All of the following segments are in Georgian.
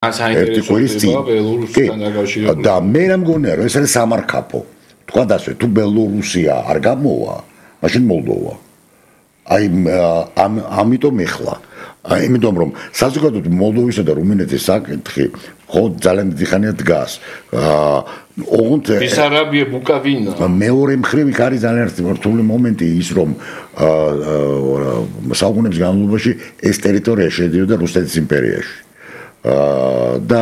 ერთი კვირის წინ და მე რა მგონია რომ ეს არის სამარკაფო თქვა დასვე თუ ბელორუსია არ გამოვა მაშინ მოლდოვა აი ამიტომ ეხლა იმიტომ რომ საზოგადოებრივ მოლდოვისა და რუმინეთის საკითხი ხო ძალიან დიდი ხანია დგას ოღონდ ბესარაბია ბუკავინა მეორე მხრივ იქ არის ძალიან რთული მომენტი ის რომ საუკუნეების განმავლობაში ეს ტერიტორია შედიოდა რუსეთის იმპერიაში და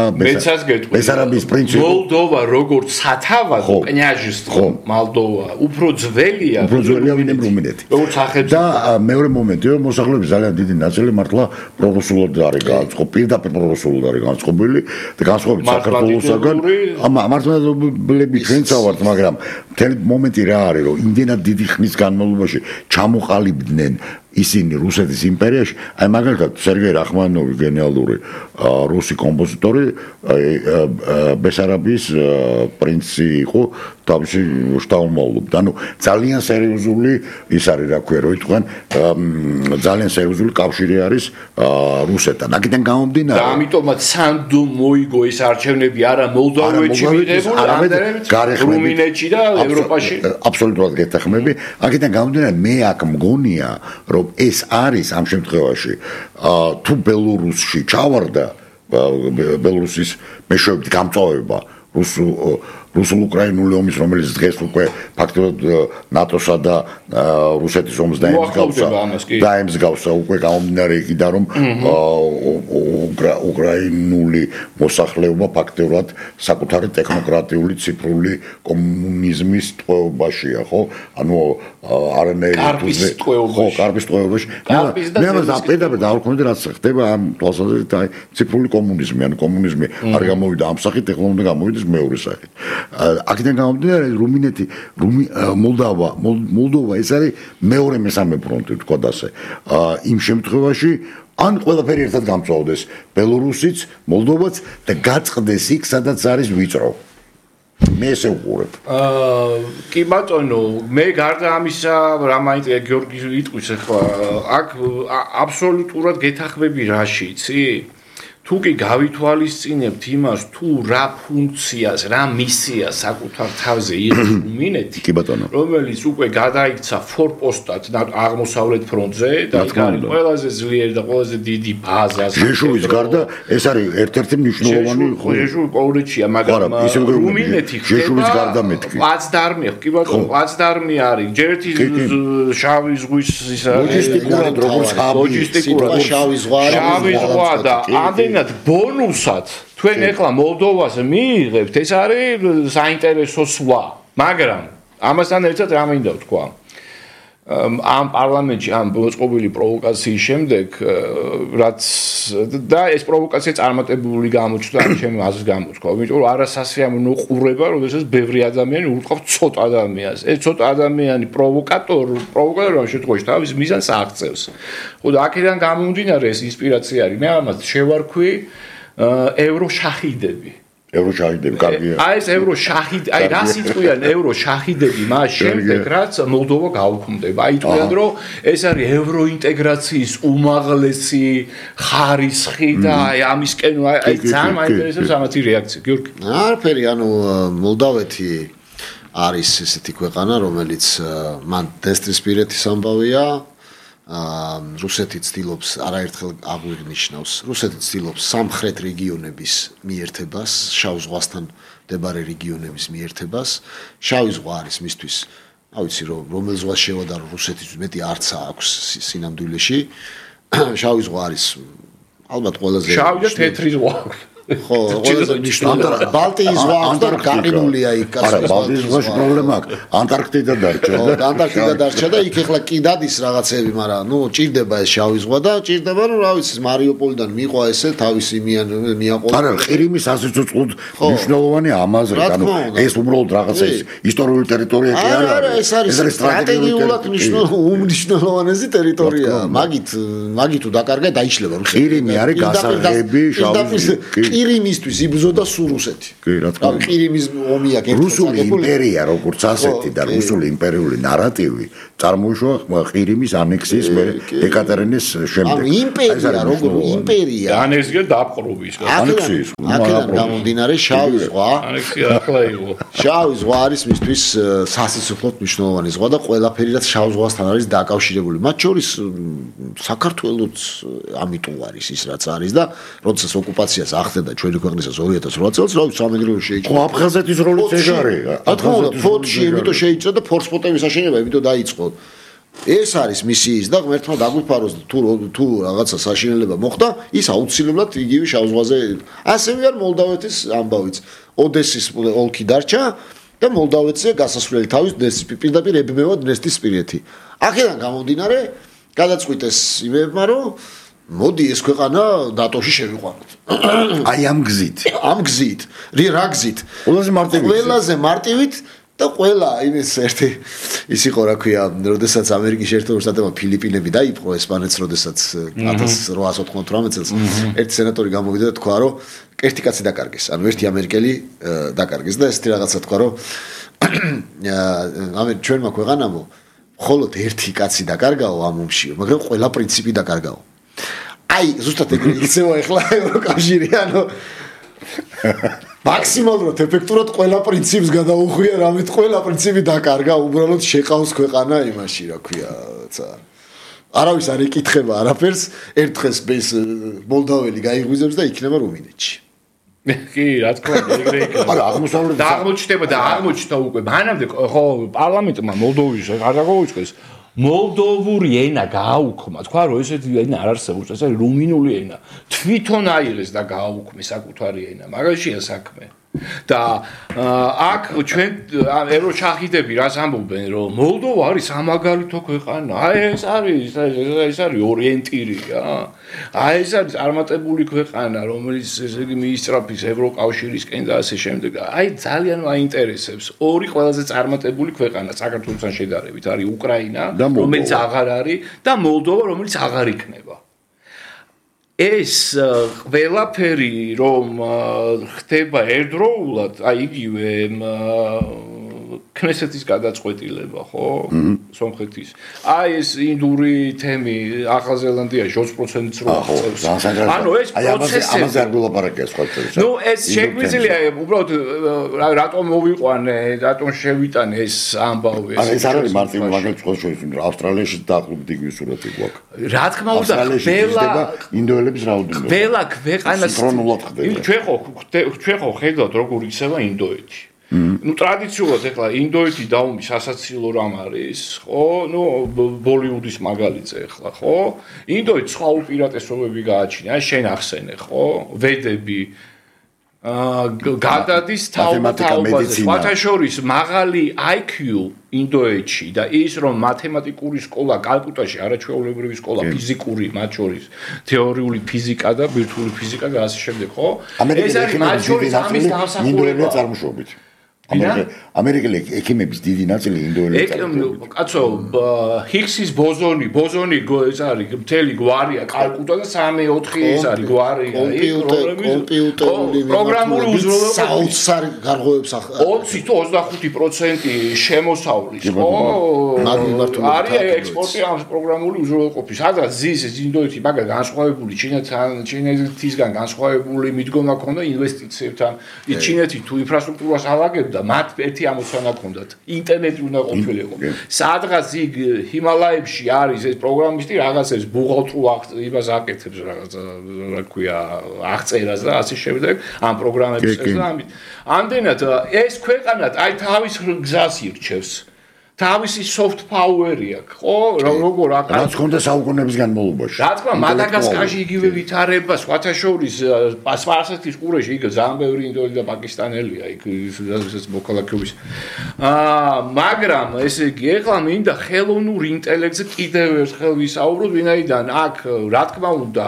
ბესარაბიის პრინციპი მოლდოვა როგორც სათავადო კნიაჟისტო მოლდოვა უფრო ძველია ვიდრე რუმინეთი როგორც სახელმწიფო და მეორე მომენტი რომ მოსახლეობის ძალიან დიდი ნაწილი მართლა პრორუსულად არის განწყობილი პირდაპირ პრორუსულად არის განწყობილი და განსხვავებით საქართველოსაგან მართლმადიდებლები ჩვენც ავართ მაგრამ მთელი მომენტი რა არის რომ იმდენად დიდი ხნის განმავლობაში ჩამოყალიბდნენ ისინი რუსეთის იმპერიაში აი მაგალითად სერგეი რახმანინოვი გენიალური რუსი კომპოზიტორი ბესარაბიის პრინცი იყო თავისი შტაუმავლობდა ანუ ძალიან სერიოზული ის არის რა ქვია რომ იტყვიან ძალიან სერიოზული კავშირი არის რუსეთთან აქედან გამომდინარე და ამიტომაც სანდო მოიგო ეს არჩევნები არა მოლდოვეთში მიღებული არამედ რუმინეთში და ევროპაში აბსოლუტურად გეთახმები აქედან გამომდინარე მე აქ მგონია რომ ეს არის ამ შემთხვევაში თუ ბელორუსში ჩავარდა ბელორუსის მეშვეობით გამწვავება რუსულ-უკრაინული ომის რომელიც დღეს უკვე ფაქტობრივად ნატოსა და რუსეთის ომს დაემსგავსა უკვე გამომდინარე იქიდან რომ უკრაინული მოსახლეობა ფაქტობრივად საკუთარი ტექნოკრატიული ციფრული კომუნიზმის ტყვეობაშია ხო ანუ კარპის ტყვეობაში მე პირდაპირ დავუკვირდი რაც ხდება ამ თვალსაზრისით აი ციფრული კომუნიზმი ანუ კომუნიზმი არ გამოვიდა ამ სახით ტექნოლოგია გამოვიდეს მეორე სახით აქედან გამომდინარე რუმინეთი მოლდოვა ეს არის მეორე მესამე ფრონტი თქვა დასე იმ შემთხვევაში ან ყველაფერი ერთად გამწვავდეს ბელორუსიც მოლდოვაც და გაწყდეს იქ სადაც არის ვიწრო მე ესე ვუყურებ კი ბატონო მე გარდა ამისა რა მაინტერესებს გიორგი იტყვის ახლა აქ აბსოლუტურად გეთახმები რაში იცი თუ კი გავითვალისწინებთ იმას თუ რა ფუნქციას, რა მისიას საკუთარ თავზე იღებს რუმინეთი, რომელიც უკვე გადაიქცა ფორპოსტად აღმოსავლეთ ფრონტზე და იქ არის ყველაზე ძლიერი და ყველაზე დიდი ბაზა. ჟეშუვის გარდა ეს არის ერთ-ერთი მნიშვნელოვანი ჟეშუვი პოლონეთშია, მაგრამ რუმინეთი ჟეშუვის გარდა მეთქი. პლაცდარმი, კი ბატონო, პლაცდარმი არის. ჯერ ერთი შავი ზღვის ისა ლოჯისტიკურად როგორც ლოჯისტიკურად შავი ზღვა და ამდენად ბონუსად თქვენ ეხლა მოლდოვას მიიღებთ ეს არის საინტერესო სვა მაგრამ ამასთან ერთად რა მინდა ვთქვა ამ პარლამენტში ამ მოწყობილი პროვოკაციის შემდეგ რაც და ეს პროვოკაცია წარმატებული გამოჩნდა ჩემი აზრს გამოთქვა იმიტომ რომ არასასიამოვნო ყურება როდესაც ბევრი ადამიანი ურტყავს ცოტა ადამიანს ეს ცოტა ადამიანი პროვოკატორი ამ შემთხვევაში თავის მიზანს აღწევს ხო და აქედან გამომდინარე ეს ინსპირაცია არის მე ამას შევარქვი ევროშაჰიდები კარგია. აი ეს ევროშაჰიდ, აი რა სიტყვიან ევროშაჰიდები მას შემდეგ რაც მოლდოვა გაუქმდება. აი თქვენ რომ ეს არის ევროინტეგრაციის უმაღლესი ხარისხი და აი ამისკენ აი ძალიან მაინტერესებს ამათი რეაქცია. გიორგი. არაფერი, ანუ მოლდოვეთი არის ესეთი ქვეყანა, რომელიც მან დესტრისპირეთის ამბავია. რუსეთი ცდილობს არაერთხელ აღვნიშნავს რუსეთი ცდილობს სამხრეთ რეგიონების მიერთებას შავ ზღვასთან მდებარე რეგიონების მიერთებას შავი ზღვა არის მისთვის ავიცი რომ რომელ ზღვას შევადარო რუსეთის მეტი არცა აქვს სინამდვილეში შავი ზღვა არის ალბათ ყველაზე შავი და თეთრი ზღვა ხო, ყველაზე მნიშვნელოვანი ბალტიის ზღვა აქვს და გაყინულია იქ. არა, ბალტიის ზღვაში პრობლემა აქვს. ანტარქტიდა დარჩა და ანტარქტიდა დარჩა და იქ ეხლა კი დადის რაღაცები, მაგრამ ნუ ჭირდება ეს შავი ზღვა და ჭირდება რომ რა ვიცი, მარიუპოლიდან მიყვა ესე თავისი მიაყოლა. არა, ყირიმის ასიცოცხლოდ მნიშვნელოვანი ამაზრე, ანუ ეს უბრალოდ რაღაცა ისტორიული ტერიტორია კი არა. არა, ეს არის სტრატეგიულად უმნიშვნელოვანესი ტერიტორია. მაგით თუ დაკარგა დაიშლება რუსეთი. ყირიმი არის გასაღები შავი ყირიმისთვის იბრძოდა სულ რუსეთი. კი, რა თქმა უნდა. ყირიმის ომი აქ რუსული იმპერია როგორც ასეთი და რუსული იმპერიული ნარატივი წარმოიშვა ყირიმის ანექსიის ეკატერინეს შემდეგ. ანუ იმპერია როგორც იმპერია. ანექსია დაპყრობის. ანექსიის. აქედან გამომდინარე შავი ზღვა. ანექსია ახლა იყო. შავი ზღვა არის მისთვის სასიცოცხლოდ მნიშვნელოვანი ზღვა და ყველაფერი რაც შავ ზღვასთან არის დაკავშირებული. მათ შორის საქართველოც ამიტომ არის ის რაც არის და როდესაც ოკუპაციას ახდენდა ჩვენი ქვეყნისას 2008 წელს, რა ვიცი, სამეგრელო შეიჭრა. ხო, აფხაზეთის როლიც ეგ არის. რა თქმა უნდა, ფოთში იმიტომ შეიჭრა და ფორსპოტების აშენება იმიტომ დაიწყო. ეს არის მისიის და ღმერთმა დაგვიფაროს თუ რაღაცა საშინელება მოხდა, ის აუცილებლად იგივე შავ ზღვაზე. ასევე არ მოლდავეთის ამბავიც. ოდესის ოლქი დარჩა და მოლდავეთზე გასასვლელი თავის პირდაპირ ებმევა დნესტრისპირეთი. აქედან გამომდინარე, გადაწყვიტეს იმებმა, რომ მოდი ეს ქვეყანა ნატოში შევიყვანოთ. აი ამ გზით. ამ გზით. რა გზით? ყველაზე მარტივით და ყველა იმის ერთი ის იყო რა ქვია, როდესაც ამერიკის შეერთებული შტატებმა ფილიპინები დაიპყრო ესპანეთს, როდესაც 1898 წელს ერთი სენატორი გამოვიდა და თქვა, რომ ერთი კაცი დაკარგეს. ანუ ერთი ამერიკელი დაკარგეს და ესეთი რაღაცა თქვა, რომ ჩვენმა ქვეყანამო მხოლოდ ერთი კაცი დაკარგაო ამ ომში, მაგრამ ყველა პრინციპი დაკარგაო. აი, ზუსტად ეგრე იქცევა ახლა ევროკავშირი, ანუ მაქსიმალურად ეფექტურად ყველა პრინციპს გადაუხვია, რამით ყველა პრინციპი დაკარგა, უბრალოდ შეყავს ქვეყანა იმაში, რა ქვია, არავის არ ეკითხება არაფერს, ერთ დღეს ეს მოლდაველი გაიღვიძებს და იქნება რუმინეთში. კი, რა თქმა უნდა, ეგრე იქნება. მაგრამ აღმოსავლეთ აღმოჩნდება და აღმოჩნდა უკვე. მანამდე ხო პარლამენტმა მოლდოვის არ დაგოუწყეს. მოლდოვური ენა გააუქმა, თქვა რომ ესეთი ენა არ არსებობს, ეს არის რუმინული ენა. თვითონ აიღეს და გააუქმეს საკუთარი ენა. მაგაშია საქმე. და აქ ჩვენ ევროჩახიდები რას ამბობენ, რომ მოლდოვა არის სამაგალითო ქვეყანა. აი ეს არის ორიენტირი რა. აი ეს არის წარმატებული ქვეყანა, რომელიც ესე იგი მიისწრაფის ევროკავშირისკენ და ასე შემდეგ. აი ძალიან მაინტერესებს. ორი ყველაზე წარმატებული ქვეყანა საქართველოსთან შედარებით არის უკრაინა, რომელიც აღარ არის და მოლდოვა, რომელიც აღარ იქნება. ეს ყველაფერი რომ ხდება ერთდროულად, აი იგივე ქნესეთის გადაწყვეტილება, ხო? სომხეთის. აი ეს ინდური თემი ახალზელანდიაში 20%-ს რო აღწევს. ანუ ეს პროცესი ამაზე არ გულაპარაკია სხვა წელს. ნუ ეს შეგვიძლია უბრალოდ რატომ მოვიყვანე, რატომ შევიტანე ეს ამბავი ეს. ეს არ არის მარტივი მაგალითად სხვა შორის, ავსტრალიაში დაახლოებით იგივე სურათი გვაქვს. რა თქმა უნდა, ინდოელების რაოდენობა. ყველა ქვეყანას სინქრონულად ხდება. ჩვენ ხო ხედავთ როგორ იქცევა ინდოეთი. ნუ ტრადიციულად ეხლა ინდოეთი დაუმის სასაცილო რამ არის, ხო? ნუ ბოლივუდის მაგალითზე ეხლა, ხო? ინდოეთს სხვა უპირატესობები გააჩნია, აი შენ ახსენე, ხო? ვედები გადადის თაობაზე, სხვათა შორის მაღალი IQ ინდოეთში და ის რომ მათემატიკური სკოლა კალკუტაში, არაჩვეულებრივი სკოლა, ფიზიკური, მათ შორის თეორიული ფიზიკა და ბირთვული ფიზიკა და ასე შემდეგ, ხო? ეს არის მათ შორის ამის დამსახურება წარმოშობით. ამერიკელი ექიმების დიდი ნაწილი ინდოელები წარმოშობით. კაცო, ჰიგსის ბოზონი ეს არის მთელი გვარია, კალკუტა და 3-4 ეს არის გვარი, კომპიუტერული პროგრამული უზრუნველყოფის საოცარი გარღვევებს 20 თუ 25% შემოსავლის, ხო? არის ექსპორტი ამ პროგრამული უზრუნველყოფის. სადაც ზის ინდოეთი მაგა განსხვავებული ჩინეთისგან განსხვავებული მიდგომა ჰქონდა ინვესტიციებთან. ჩინეთი თუ ინფრასტრუქტურას ავაგებდა მათ ერთი ამოცანა ჰქონდათ. ინტერნეტი უნდა ყოფილიყო. სადღაც იქ ჰიმალაებში არის ეს პროგრამისტი რაღაცებს ბუღალტრულ იმას აკეთებს რაღაცა რა ქვია აღწერას და ასე შემდეგ ამ პროგრამების წესს. ამდენად ეს ქვეყანა აი თავის გზას ირჩევს. თავისი soft power-ი აქვს, ხო? როგორ აქ რაც ხონდა საუკუნეების განმავლობაში. რა თქმა უნდა, მადაგასკარში იგივე ვითარება, სხვათა შორის სპარსეთის ყურეში იქ ძალიან ბევრი ინდოელი და პაკისტანელია, იქ რასაც მოქალაქეობის. მაგრამ ესე იგი, ეხლა მინდა ხელოვნურ ინტელექტზე კიდევ ერთხელ ვისაუბროთ, ვინაიდან აქ რა თქმა უნდა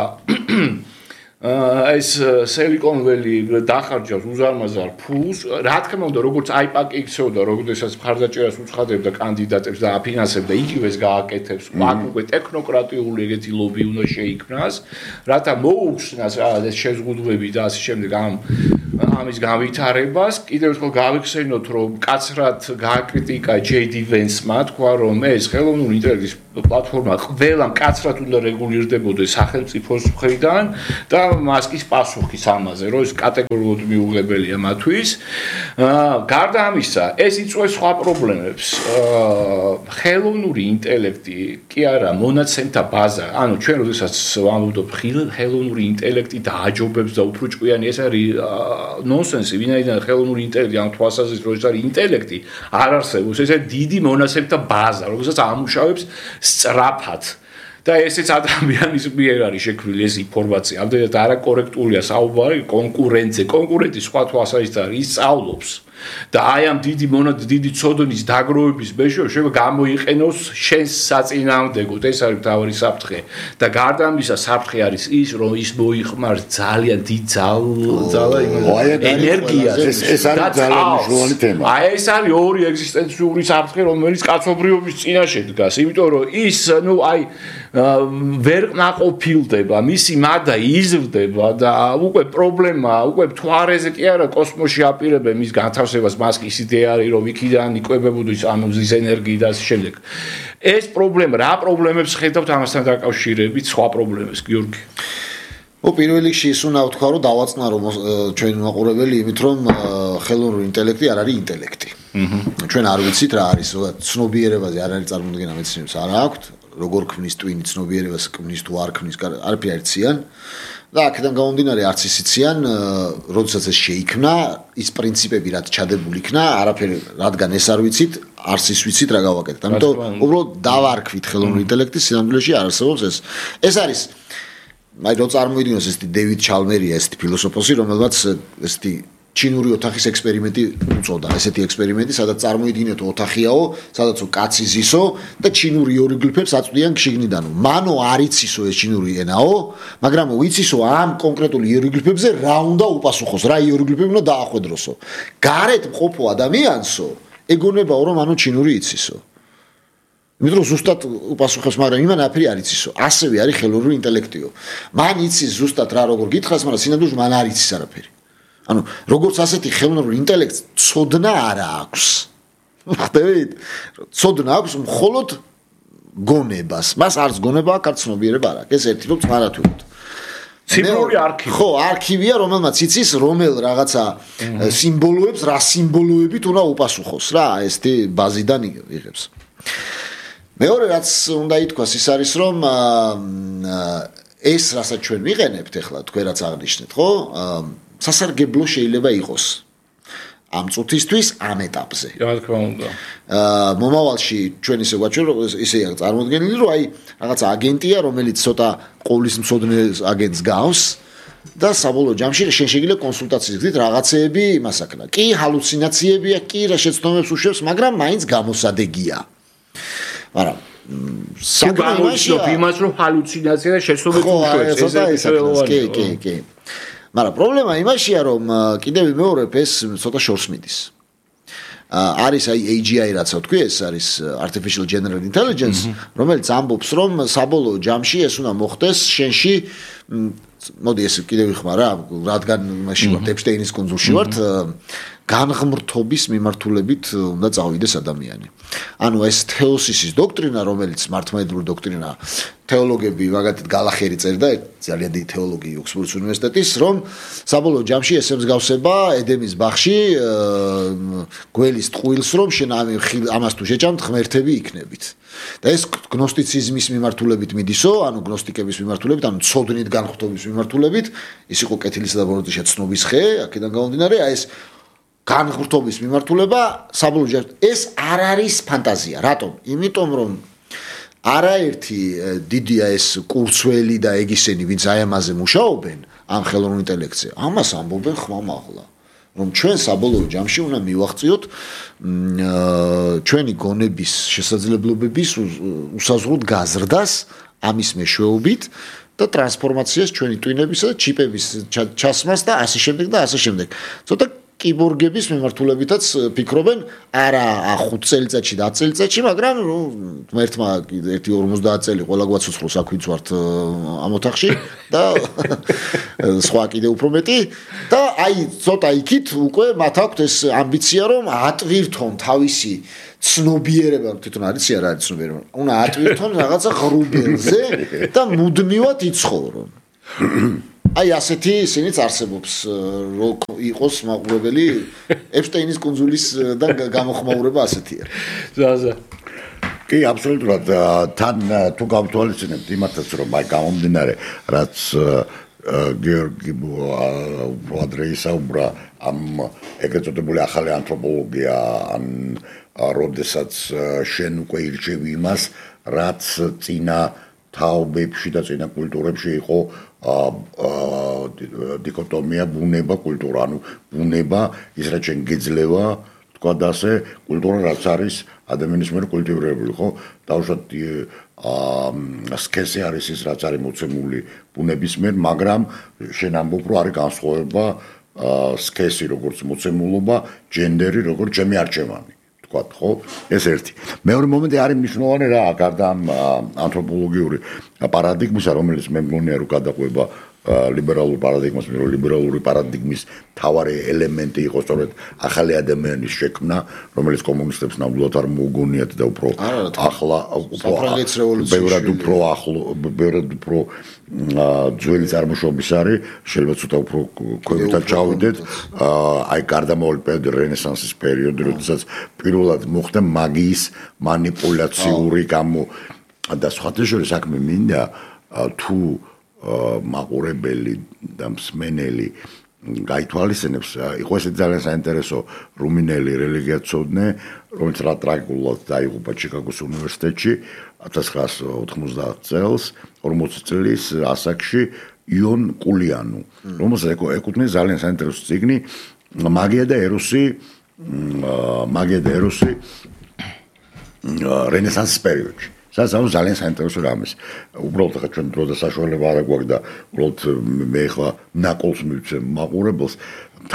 ეს Silicon Valley დახარჯავს უზარმაზარ ფულს, რა თქმა უნდა, როგორც AIPAC იქცეოდა, როდესაც მხარდაჭერას უცხადებდა კანდიდატებს და აფინანსებდა, იგივეს გააკეთებს, უკვე ტექნოკრატიული ეგეთი ლობი უნდა შეიქმნას, რათა მოუხსნას ეს შეზღუდვები და ასე შემდეგ ამის განვითარებას. კიდევ ერთხელ გავიხსენოთ, რომ კაცრად გააკრიტიკა JD Vance-მა, თქვა, რომ ეს ხელოვნური ინტელექტის პლატფორმა ყველა მკაცრად უნდა რეგულირდებოდეს სახელმწიფოს მხრიდან და მასკის პასუხის ამაზე, რომ ეს კატეგორიულად მიუღებელია მათთვის. გარდა ამისა, ეს იწვევს სხვა პრობლემებს. ხელოვნური ინტელექტი კი არა, მონაცემთა ბაზა. ანუ ჩვენ როდესაც ვამბობთ ხელოვნური ინტელექტი დააჯობებს და უფრო ჭკვიანი, ეს არის ნონსენსი, ვინაიდან ხელოვნური ინტელექტი ამ თვალსაზრისით, რომ ეს არის ინტელექტი, არ არსებობს. ეს არის დიდი მონაცემთა ბაზა, რომელსაც ამუშავებს სწრაფად. და ესეც ადამიანის მიერ არის შექმნილი ეს ინფორმაცია. ამდენად არაკორექტულია საუბარი კონკურენტი სხვა თვალსაზრისით არის ისწავლობს და აი ამ დიდი ცოდნის დაგროვების მეშვეობით შეიძლება გამოიყენოს შენს საწინააღმდეგოდ. ეს არის მთავარი საფრთხე. და გარდა ამისა, საფრთხე არის ის, რომ ის მოიხმარს ძალიან დიდ ენერგიას. ეს არის ძალიან მნიშვნელოვანი თემა. აი ეს არის ორი ეგზისტენციური საფრთხე, რომელიც კაცობრიობის წინაშე დგას, იმიტომ რომ ის, ვერ ნაყოფილდება, მისი მადა იზრდება და უკვე პრობლემა, უკვე მთვარეზე კი არა კოსმოსში აპირებენ მის განთავსებას, მასკის იდეა არის, რომ იქიდან იკვებებოდეს ამის ენერგიით და ასე შემდეგ. ეს პრობლემა, რა პრობლემებს ხედავთ ამასთან დაკავშირებით, სხვა პრობლემებს, გიორგი? პირველ რიგში ის უნდა ვთქვა, რომ დავაწყნარო ჩვენი მაყურებელი იმით, რომ ხელოვნური ინტელექტი არ არის ინტელექტი. ჩვენ არ ვიცით რა არის, ცნობიერებაზე არ არის წარმოდგენა მეცნიერებს არ აქვთ. როგორ ქმნის ტვინი ცნობიერებას, ქმნის თუ არ ქმნის, არაფერი არ იციან და აქედან გამომდინარე არც ისიციან, როდესაც ეს შეიქმნა, ის პრინციპები რაც ჩადებული იქნა, არაფერი, რადგან ეს არ ვიცით, არც ის ვიცით რა გავაკეთეთ. ამიტომ უბრალოდ დავარქვით ხელოვნური ინტელექტის სინამდვილეში არ არსებობს ეს. ეს არის რომ წარმოიდგინოს ესეთი დევიდ ჩალმერია, ესეთი ფილოსოფოსი, რომელმაც ესეთი ჩინური ოთახის ექსპერიმენტი უწოდა. ესეთი ექსპერიმენტი, სადაც წარმოიდგინეთ ოთახიაო, სადაც კაცი ზისო და ჩინური იეროგლიფებს აწვდიან შიგნიდან. მანო არ იცისო ეს ჩინური ენაო, მაგრამ ვიცისო ამ კონკრეტულ იეროგლიფებზე რა უნდა უპასუხოს, რა იეროგლიფები უნდა დაახვედროსო. გარეთ მყოფო ადამიანსო, ეგონებაო რომ ანუ ჩინური იცისო. იმიტომ რომ ზუსტად უპასუხებს, მაგრამ იმან აფერი არ იცისო. ასევე არის ხელოვნური ინტელექტიო. მან იცის ზუსტად რა როგორ გითხრას, მაგრამ სინამდვილეში მან არ იცის არაფერი. ანუ როგორც ასეთი ხელოვნური ინტელექტს ცოდნა არ აქვს. ხდებით? ცოდნა აქვს მხოლოდ გონებას. მას არც გონება აქვს, არც ცნობიერება არ აქვს. ეს ერთი რომ წარათვით. ციფრული არქივი. ხო, არქივია, რომელმაც იცის რომელ რაღაცა სიმბოლოებს, რა სიმბოლოებით უნდა უპასუხოს რა, ესეთი ბაზიდან იღებს. მეორე რაც უნდა ითქვას ის არის რომ ეს რასაც ჩვენ ვიყენებთ ახლა თქვენ რაც აღნიშნეთ ხო სასარგებლო შეიძლება იყოს ამ წუთისთვის ამ ეტაპზე. რა თქმა უნდა. მომავალში ჩვენ ისე გვაჩვენ რომ ისეა წარმოდგენილი რომ აი რაღაცა აგენტია რომელიც ცოტა ყოვლის მცოდნე აგენტს გავს და საბოლოო ჯამში შენ შეგიძლია კონსულტაციის გზით რაღაცეები იმასაკნა. კი ჰალუცინაციებია, კი რა შეცდომებს უშვებს, მაგრამ მაინც გამოსადეგია. მაგრამ საკმაოდ იმას რომ ჰალუცინაცია და შეცდომებს უშვებს კი. მაგრამ პრობლემა იმაშია რომ კიდევ ვიმეორებ ეს ცოტა შორს მიდის. არის აი AGI რაც ვთქვი, ეს არის artificial general intelligence, რომელიც ამბობს რომ საბოლოო ჯამში ეს უნდა მოხდეს შენში მოდი ეს კიდევ ვიხმარ რა, რადგან იმაში ვარ ეპშტეინის კუნძულში ვართ, განღმრთობის მიმართულებით უნდა წავიდეს ადამიანი. ანუ ეს თეოსისის დოქტრინა, რომელიც მართლმადიდებლური დოქტრინა, თეოლოგები მაგათით გალახერი წერდა, ძალიან დიდი თეოლოგი ოქსფორდის უნივერსიტეტის, რომ საბოლოო ჯამში ესე მსგავსება ედემის ბაღში გველის ტყუილს, რომ შენ ამას თუ შეჭამთ, ღმერთები იქნებით. და ეს გნოსტიციზმის მიმართულებით მიდისო, ანუ გნოსტიკების მიმართულებით, ანუ ცოდნით განხრთობის მიმართულებით, ის იყო კეთილისა და ბოროტიშა ცნობის ხე, აქედან გამომდინარე, აი ეს განხრთობის მიმართულება საბოლოო ჯამში ეს არ არის ფანტაზია. რატომ? იმიტომ რომ არაერთი დიდია ეს კურცველი და ეგისენი, ვინც აი ამაზე მუშაობენ, ამ ხელოვნურ ინტელექტზე, ამას ამბობენ ხმამაღლა. რომ ჩვენ საბოლოო ჯამში უნდა მივაღწიოთ ჩვენი გონების შესაძლებლობების უსაზღვროდ გაზრდას ამის მეშვეობით და ტრანსფორმაციას ჩვენი ტვინებისა და ჩიპების ჩასმას და ასე შემდეგ და ასე შემდეგ. ცოტა კიბორგების მიმართულებითაც ფიქრობენ არა 5 წელიწადში და 10 წელიწადში, მაგრამ ერთმა 1-50 წელი ყველა გვაცოცხლოს აქ ვიც ვართ ამ ოთახში და სხვა კიდე უფრო მეტი და აი ცოტა იქით უკვე მათ აქვთ ეს ამბიცია რომ ატვირთონ თავისი ცნობიერება თვითონ არის არა არის ცნობიერება უნდა ატვირთონ რაღაცა ღრუბელზე და მუდმივად იცხოვრონ აი ასეთი ისინიც არსებობს რო იყოს მაყურებელი ეპშტეინის კუნძულის და გამოხმაურება ასეთია ზაზა კი აბსოლუტურად თან თუ გავთვალისწინებთ იმათაც რომ აი გამომდინარე რაც გიორგი ადრეი საუბრა ამ ეგრეთ წოდებული ახალი ანთროპოლოგია ან როდესაც შენ უკვე ირჩევი იმას რაც წინა თაობებში და წინა კულტურებში იყო დიქოტომია ბუნება კულტურა ანუ ბუნება ის რაც შენ გეძლევა თქვა და ასე კულტურა რაც არის ადამიანის მიერ კულტივირებული ხო დავუშვათ სქესი არის ის რაც არის მოცემული ბუნების მიერ მაგრამ შენ ამბობ რომ არის განსხვავება სქესი როგორც მოცემულობა ჯენდერი როგორც ჩემი არჩევანი თქვა ხო ეს ერთი მეორე მომენტი არის მნიშვნელოვანი რა გარდა ამ ანთროპოლოგიური პარადიგმისა რომელიც მე მგონია რომ გადაყვება ლიბერალურ პარადიგმას ლიბერალური პარადიგმის მთავარი ელემენტი იყო სწორედ ახალი ადამიანის შექმნა რომელიც კომუნისტებს ნამდვილად არ მოუგონიათ და უფრო ახლა ბევრად უფრო ძველი წარმოშობის არის შეიძლება ცოტა უფრო ქვევით ჩავიდეთ აი გარდამავალი პერიოდი რენესანსის პერიოდი როდესაც პირველად მოხდა მაგიის მანიპულაციური გამო და სხვათა შორის საქმე მინდა თუ მაყურებელი და მსმენელი გაითვალისწინებს იყო ესე ძალიან საინტერესო რუმინელი რელიგიაცოდნე რომელიც რა ტრაგიკულად დაიღუპა ჩიკაგოს უნივერსიტეტში 1990 წელს 40 წლის ასაკში იონ კულიანუ რომელსაც ეკუთვნის ძალიან საინტერესო წიგნი მაგია და ეროსი რენესანსის პერიოდში საერთოდ ძალიან საინტერესო რამის. უბრალოდ ხა ჩვენ დრო და საშუალება არ გვაქვს და უბრალოდ მე ხა ნაკოლს მივცემ მაყურებელს.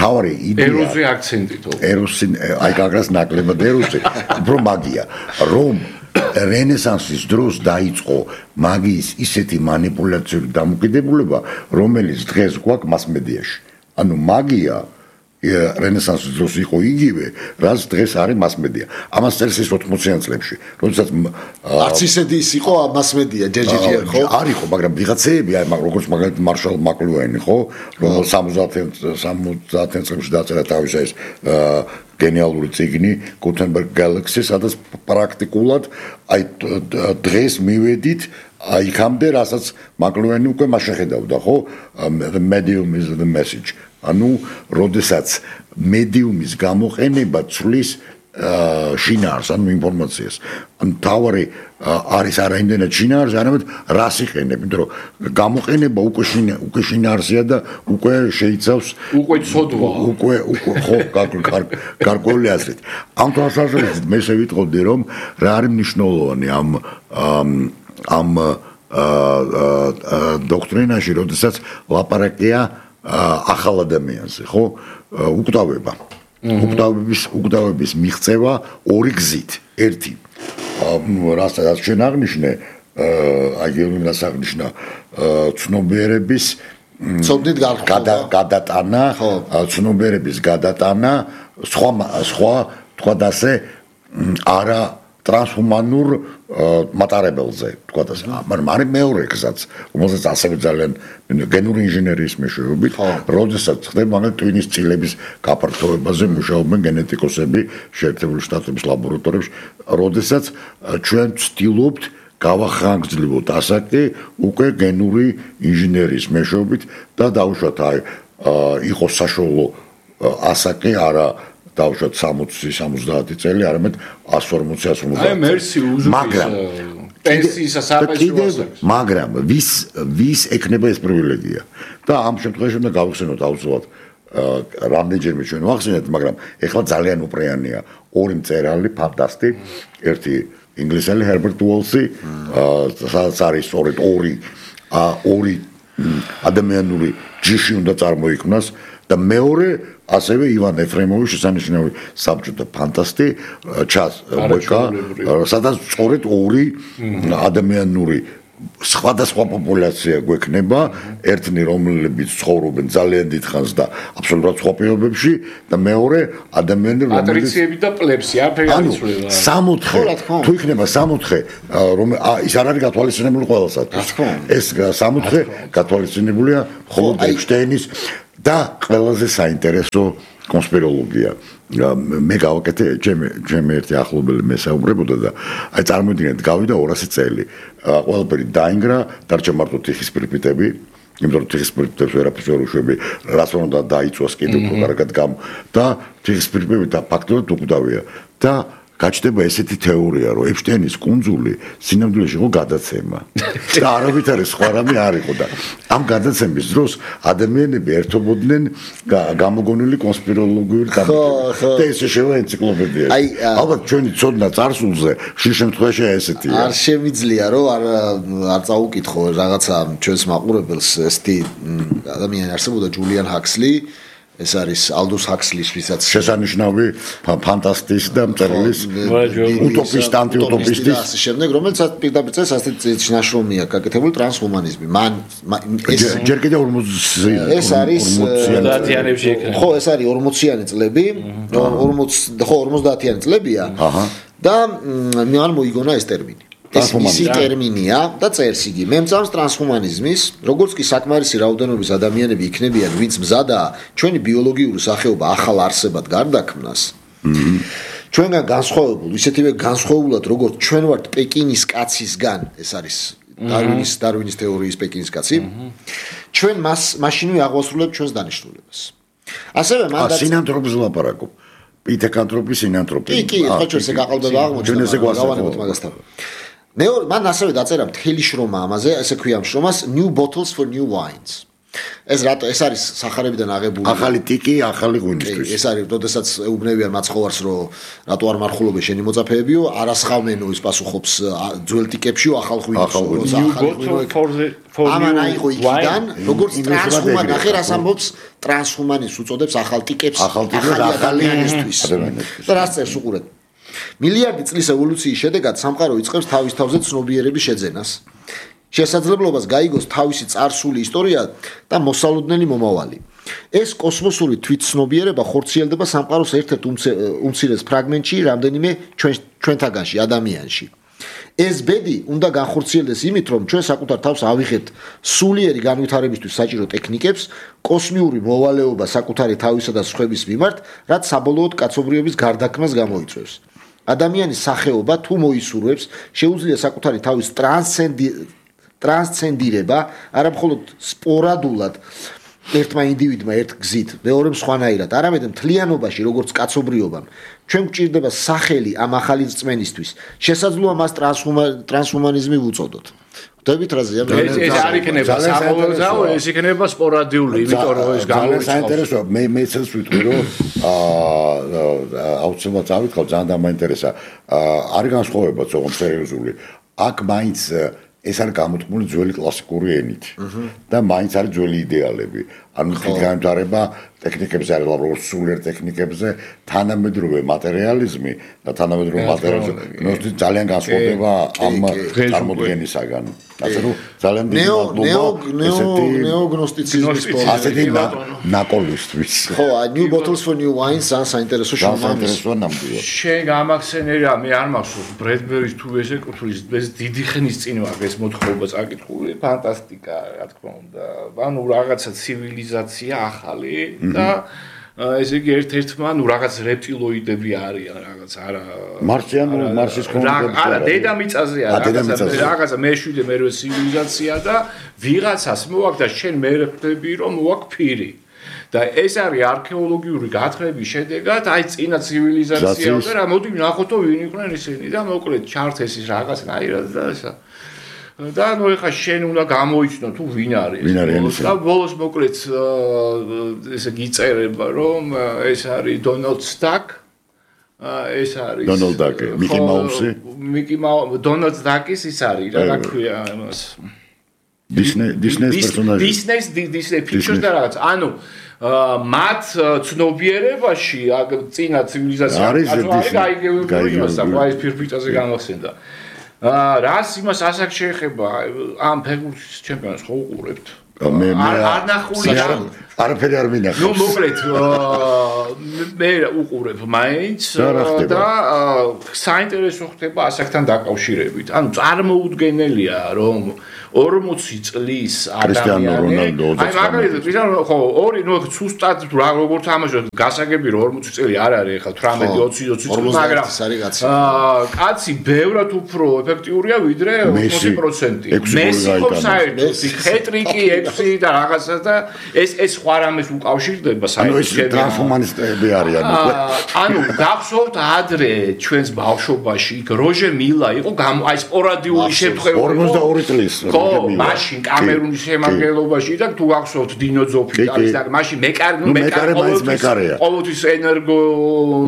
თავარი იდეა ეროზი აქცენტი თო. ეროზი აი გაგრას ნაკლებად ეროზი. უფრო მაგია რომ რენესანსის დროს დაიწყო მაგიის ისეთი მანიპულაციური დამოკიდებულება, რომელიც დღეს გვაქვს მასმედიაში. ანუ მაგია რენესანსის დროს იყო იგივე, რაც დღეს არის მასმედია. ამას წერს ის 80-იან წლებში, როდესაც არც ისეთი ის იყო მასმედია, ჯერჯერჯერ ხო? არ იყო, მაგრამ ვიღაცეები, აი როგორც მაგალითად მარშალ მაკლუენი, ხო? რომელიც 70-იან წლებში დაწერა თავის ეს გენიალური წიგნი Gutenberg Galaxy, სადაც პრაქტიკულად აი დღეს მივედით იქამდე, რასაც მაკლუენი უკვე მას შეხედავდა, ხო? The medium is the message. ანუ როდესაც მედიუმის გამოყენება ცვლის შინაარს, ანუ ინფორმაციას. ანუ თავარი არის არა იმდენად შინაარს, არამედ რას იყენებ, იმიტომ რომ გამოყენება უკვე შინაარსია და უკვე შეიცავს უკვე ცოდვა. უკვე ხო, გარკვეული აზრით. ამ თვალსაზრისით მე შევიტყოდი რომ რა არის მნიშვნელოვანი ამ დოქტრინაში, როდესაც ლაპარაკია ახალ ადამიანზე, ხო? უკვდავების მიღწევა ორი გზით. ერთი, რასაც ჩვენ აღნიშნე, აი გეოლოგიას აღნიშნა ცნობიერების ცოდნით გადატანა, ცნობიერების გადატანა, სხვა თქვა და ასე არა ტრანსჰუმანურ მატარებელზე, თქვა და ასე. მაგრამ არის მეორე გზაც, რომელსაც ასევე ძალიან გენური ინჟინერიის მეშვეობით, როდესაც ხდება მაგალითად ტვინის წილების გაფართოებაზე მუშაობენ გენეტიკოსები შეერთებული შტატების ლაბორატორიებში, როდესაც ჩვენ ვცდილობთ გავახანგრძლივოთ ასაკი უკვე გენური ინჟინერიის მეშვეობით და დავუშვათ აი იყოს საშუალო ასაკი არა დავუშვათ 60-70 წელი, არამედ 140-150. აი მერსი უზრუნველყოფა პენსიის საფასურს. მაგრამ ვის ეკნება ეს პრივილეგია? და ამ შემთხვევაში უნდა გავხსენოთ აუცილებლად რამდენჯერმე ჩვენ ვახსენეთ, მაგრამ ეხლა ძალიან უპრეანია ორი მწერალი ფანტასტი, ერთი ინგლისელი ჰერბერტ უოლსი, სადაც არის სწორედ ორი ორი ადამიანური ჯიში უნდა წარმოიქმნას და მეორე ასევე ივან ეფრემოვი შესანიშნავი საბჭოთა ფანტასტი ჩას ვეკა სადაც სწორედ ორი ადამიანური სხვადასხვა პოპულაცია გვექნება ერთნი რომლებიც ცხოვრობენ ძალიან დიდ ხანს და აბსოლუტურად სხვა პირობებში და მეორე ადამიანი რომელიც პატრიციები და პლებსი არაფერი არ იცვლება სამოთხე თუ იქნება სამოთხე რომ ის არ არის გათვალისწინებული ყველასათვის ეს სამოთხე გათვალისწინებულია მხოლოდ ეინშტაინის და ყველაზე საინტერესო კონსპიროლოგია მე გავაკეთე ჩემი ერთი ახლობელი მესაუბრებოდა და აი წარმოიდგინეთ გავიდა 200 წელი ყველაფერი დაინგრა დარჩა მარტო თიხის პირპიტები იმიტომ რომ თიხის პირპიტებს ვერაფერს ვერ უშვები რაც უნდა დაიწვას კიდევ უფრო კარგად და თიხის პირპიტები და ფაქტობრივად უკვდავია და გაჩნდება ესეთი თეორია რომ ეინშტაინის კუნძული სინამდვილეში იყო გადაცემა და არავითარი სხვა რამე არ იყო და ამ გადაცემის დროს ადამიანები ერთობოდნენ გამოგონილი კონსპიროლოგიური გამოკვლევებით და ესე შევა ენციკლოპედიაში ალბათ ჩვენი ცოდნა წარსულზე ხშირ შემთხვევაში ესეთია არ შემიძლია რომ არ წაუკითხო რაღაცა ჩვენს მაყურებელს ესეთი ადამიანი არსებობდა ჯულიან ჰაქსლი ეს არის ალდუს ჰაქსლის ვისაც შესანიშნავი ფანტასტის და მწერლის უტოპისტ ანტიუტოპისტის ასე შემდეგ რომელიც პირდაპირ წეს ასეთი ნაშრომია გაკეთებული ტრანსჰუმანიზმი მან ეს ჯერ კიდევ 40 ეს არის 50-იანებში ეკრა ხო ეს არის 40-იანი წლები 50-იანი წლებია და მან მოიგონა ეს ტერმინი ეს მისი ტერმინია და წერს იგი მე მწამს ტრანსჰუმანიზმის როგორც კი საკმარისი რაოდენობის ადამიანები იქნებიან ვინც მზადაა ჩვენი ბიოლოგიური სახეობა ახალ არსებად გარდაქმნას ჩვენგან განსხვავებულ ისეთივე განსხვავებულად როგორც ჩვენ ვართ პეკინის კაცისგან ეს არის დარვინის თეორიის პეკინის კაცი ჩვენ მაშინვე აღვასრულებთ ჩვენს დანიშნულებას ასევე მან სინანთროპის ლაპარაკობ პითეკანთროპი სინანთროპი კი ხო ჩვენ ესე გაყალბება აღმოჩნდა მაგასთან მან ასევე დაწერა მთელი შრომა ამაზე, ესე ქვია შრომას New Bottles for New Wines. ეს არის სახარებიდან აღებული ახალი ტიკი, ახალი ღვინისთვის. ეს არის, როდესაც ეუბნებიან მაცხოვარს, რომ რატო არ მარხულობენ შენი მოწაფეებიო, არასხავმენო ის პასუხობს ძველ ტიკებშიო, ახალ ღვინოს, ამან აიღო იქიდან, როგორც ტრანსჰუმანი, ახლა რას ამბობს ტრანსჰუმანის უწოდებს ახალ ტიკებს, ახალი ადამიანისთვის. და რას წერს უყურეთ მილიარდი წლის ევოლუციის შედეგად სამყარო იწყებს თავის თავზე ცნობიერების შეძენას. შესაძლებლობას გაიგოს თავისი წარსული ისტორია და მოსალოდნელი მომავალი. ეს კოსმოსური თვითცნობიერება ხორციელდება სამყაროს ერთ-ერთ უმცირეს ფრაგმენტში, რამდენიმე ჩვენთაგანში, ადამიანში. ეს ბედი უნდა განხორციელდეს იმით, რომ ჩვენ საკუთარ თავს ავიღეთ სულიერი განვითარებისთვის საჭირო ტექნიკებს, კოსმიური მოვალეობა საკუთარი თავისა და სხვების მიმართ, რაც საბოლოოდ კაცობრიობის გარდაქმნას გამოიწვევს. ადამიანის სახეობა თუ მოისურვებს, შეუძლია საკუთარი თავის ტრანსცენდირება, არა მხოლოდ სპორადულად ერთმა ინდივიდმა ერთ გზით, მეორემ სხვანაირად, არამედ მთლიანობაში, როგორც კაცობრიობამ, ჩვენ გვჭირდება სახელი ამ ახალი რწმენისთვის. შესაძლოა მას ტრანსჰუმანიზმი ვუწოდოთ. ხვდებით რაზეა? ეს არ იქნება საყოველთაო, ეს იქნება სპორადიული, იმიტომ რომ ეს გამოიწყოს. საინტერესოა, მე ცელს ვიტყვი, რომ აუცილებლად წავიკავ, ძალიან დამაინტერესა. არის განსხვავება თქო სერიოზული. აქ მაინც ეს არის გამოთქმული ძველი კლასიკური ენით და მაინც არის ძველი იდეალები. ანუ განვითარება ტექნიკებზე არის როგორც სულიერ ტექნიკებზე, თანამედროვე მატერიალიზმი და თანამედროვე მატერიალიზმი ძალიან განსხვავდება ამ წარმოდგენისაგან. ასე რომ ძალიან დიდი ნეოგნოსტიციზმის ასეთი ნაკოლისთვის. ხო, New Bottles for New Wines საინტერესო საინტერესოა ნამდვილად. შენ გამახსენერა, მე არ მახსოვს ბრედბერის თუ ესე კუთვლის ეს დიდი ხნის წინ ვარ ეს მოთხრობა წაკითხული, ფანტასტიკა, რა თქმა უნდა. ანუ რაღაცა ცივილიზაცია ახალი და ესე იგი ერთ-ერთმა ნუ რაღაც რეპტილოიდები არიან რაღაც არა მარსის კონკრეტულად არა დედამიწაზე რაღაცა მეშვიდე მერვე ცივილიზაცია და ვიღაცას მოაქვს და შენ მე ხვდები რომ მოაქვს ფირი და ეს არის არქეოლოგიური გათხრების შედეგად აი წინა ცივილიზაციაა და რა მოდი ნახოთო ვინ იყვნენ ისინი და მოკლედ ჩართეს ის რაღაცნაირად და ესა და ნუ ეხა შენ უნდა გამოიცნო თუ ვინ არის და ბოლოს მოკლედ ესე გიწერება რომ ეს არის დონალდ სტაკ ეს არის დონალდ დაკი მიკი მაუსი დონალდ დაკის ის არის რა ქვია იმას Disney პერსონაჟი. Disney pictures და რაღაც. ანუ მათ ცნობიერებაში წინა ცივილიზაცია აი ფირფიტაზე განახსენდა. რას იმას ასაკ შეეხება ამ ფეხბურთის ჩემპიონატს ხო უყურებთ? მე არ ნახული არაფერი არ მინახავს. ნუ მოკლედ მე უყურებ მაინც და საინტერესო ხდება ასაკთან დაკავშირებით. ანუ წარმოუდგენელია რომ 40 წლის ადამიანი აი მაგალითად კრისტიანო ხო ორი ნუ სუსტად როგორ თამაშობს გასაგები რომ 40 წელი არ არის ახლა 18 20 წელი მაგრამ კაცი ბევრად უფრო ეფექტიურია ვიდრე 80%. მესი ხო საერთოდ ხეტრიკი 6 და რაღაცა და ეს სხვა რამეს უკავშირდება საერთოდ ტრანსჰუმანისტები არიან ანუ გახსოვთ ადრე ჩვენს ბავშვობაში იქ როჟე მილა იყო აი სპორადიული შემთხვევა 42 წლის მაშინ კამერუნის შემადგენლობაში და თუ გახსოვთ დინო ძოფიტალის და მაშინ მეკარე ყოველთვის ენერგო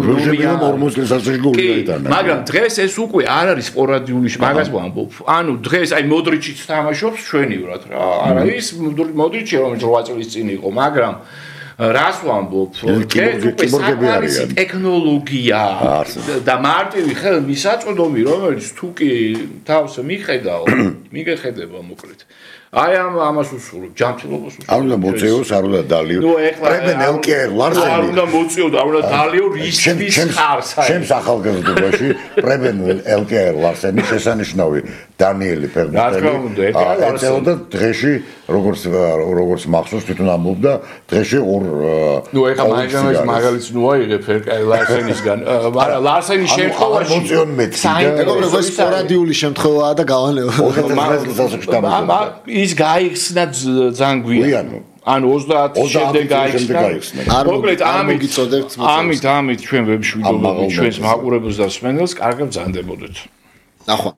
როჟე 40 წელს ასე გულიდან მაგრამ დღეს ეს უკვე არ არის სპორადიული მაგას ვამბობ ანუ დღეს აი მოდრიჩიც თამაშობს ჩვენივრად რა არა ის მოდრიჩი რომელიც 8 წლის წინ იყო მაგრამ რას ვამბობ ეს უკვე საკმარისი ტექნოლოგია და მარტივი ხელმისაწვდომი რომელიც თუ კი თავს მიგეხედება მოკლედ აი ამას უსურვებ ჯანმრთელობას უსურვებ არ უნდა მოწეოს არ უნდა დალიო პრებენ ელკერ ლარსენი არ უნდა მოწეო და არ უნდა დალიო რისთვის ხარს ჩემს ახალგაზრდობაში პრებენ ელკერ ლარსენი შესანიშნავი დანიელი ფერმერი და დღეში როგორც მახსოვს თვითონ ამბობდა დღეში ნუ ეხა მაგალითს ნუ აიღებ ლარსენისგან მაგრამ ლარსენის შემთხვევაში მოწეონ მეტი მეგობრებო ეს სპორადიული შემთხვევაა და გავალეო ის გაიხსნა ძალიან გვიანი ანუ 30 შემდეგ გაიხსნა მოკლედ ამით ჩვენ ვებშვიდობებით ჩვენს მაყურებელს და მსმენელს კარგად ბრძანდებოდეთ ნახვა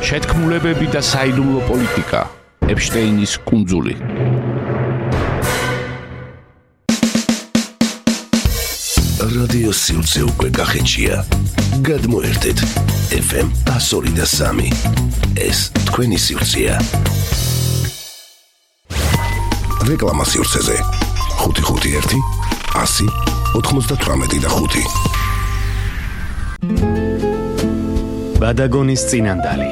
შეთქმულებები და საიდუმლო პოლიტიკა ეპშტეინის კუნძული რადიო სივრცე უკვე გახეჩია გადმოერთეთ FM 102.3 ეს თქვენი სივრცეა რეკლამა სივრცეზე 551 100 98 ბადაგონის წინანდალი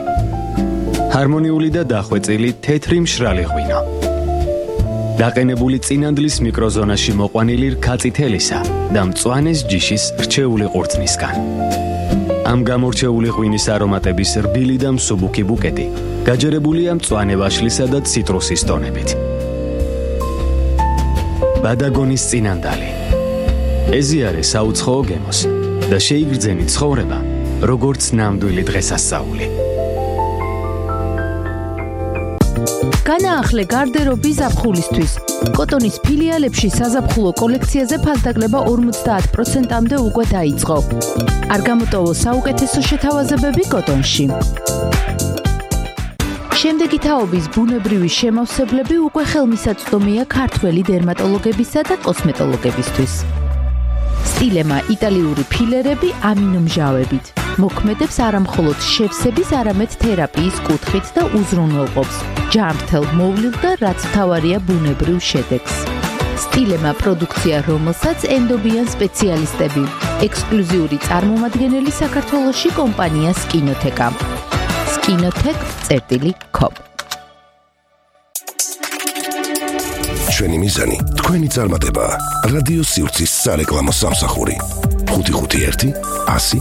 ჰარმონიული და დახვეწილი თეთრი მშრალი ღვინო დაყენებული წინანდლის მიკროზონაში მოყვანილი რქაწითელისა და მწვანეს ჯიშის რჩეული ყურძნისგან ამ გამორჩეული ღვინის არომატების რბილი და მსუბუქი ბუკეტი გაჯერებულია მწვანე ვაშლისა და ციტრუსის ტონებით ბადაგონის წინანდალი ეზიარე საუცხოო გემოს და შეიგრძენი ცხოვრება როგორც ნამდვილი დღესასწაული განაახლე გარდერობი ზაფხულისთვის. კოტონის ფილიალებში საზაფხულო კოლექციაზე ფასდაკლება 50%-მდე უკვე დაიწყო. არ გამოტოვო საუკეთესო შეთავაზებები კოტონში. შემდეგი თაობის ბუნებრივი შემავსებლები უკვე ხელმისაწვდომია ქართველი დერმატოლოგებისა და კოსმეტოლოგებისთვის. სტილემა იტალიური ფილერები ამინომჟავებით. მოქმედებს არამხოლოდ შევსების, არამედ თერაპიის კუთხით და უზრუნველყოფს ჯანმრთელ მოვლილ და რაც მთავარია ბუნებრივ შედეგს. სტილემა პროდუქცია, რომელსაც ენდობიან სპეციალისტები. ექსკლუზიური წარმომადგენელი საქართველოში კომპანია სკინოთეკა. skinotech.com ჩვენი მიზანი თქვენი წარმატებაა. რადიო სივრცის სარეკლამო სამსახური 551 100